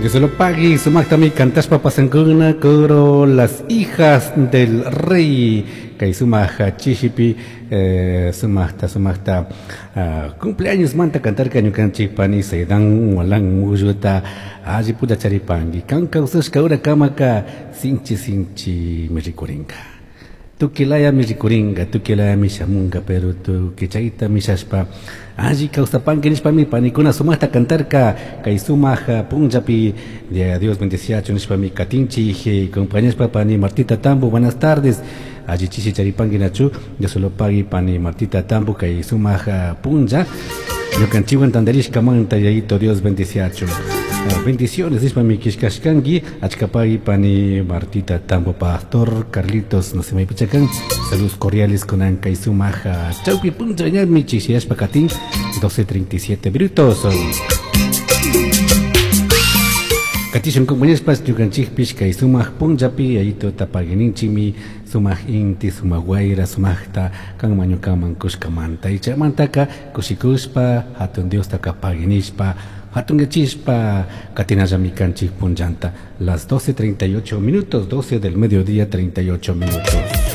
Dios lo pagui, sumaqtami cantashpa pasankuna coro las hijas del rey kay sumaq chishipi eh, sumaqta sumaqta uh, cumpleaños manta cantarka ñukanchik pani Saidan Walan Mulluta alli pulla charipanki kan kawsashka ura kamaka sinchi sinchi mi rikurinka tukilayami rikurinka tukilayami shamunka pero tuki chayta mishashpa alli kawsapanki nishpami panikuna sumaqta cantarka kay sumaq punllapi de Dios bendeciachu nishpami katinchik compañashpa pani Martita Tambo buenas tardes alli chishi charipanki nachu Dios lo pagui pani Martita Tambo kay sumaq punlla ñukanchikwan tantarishkamanta yayito Dios bendeciachu bendiciones nishpami kishkashkanki achkapagui pani Martita Tambo pastor Carlitos no se me pichakan saludos cordiales con kay sumaq chawpi punlla ñami chishiyashpa katin 12.37 minutos Katishun compañeros ñukanchikpish kay sumaq punllapi yayito tapaguininchikmi sumaq inti sumaq wayra sumaqta kanman ñukaman kushkamanta y chaymantaka kushikushpa hatun Diostaka paguinishpa hatunyachishpa katinallami kanchik punllanta las 12.38 minutos 12 del mediodía 38 minutos.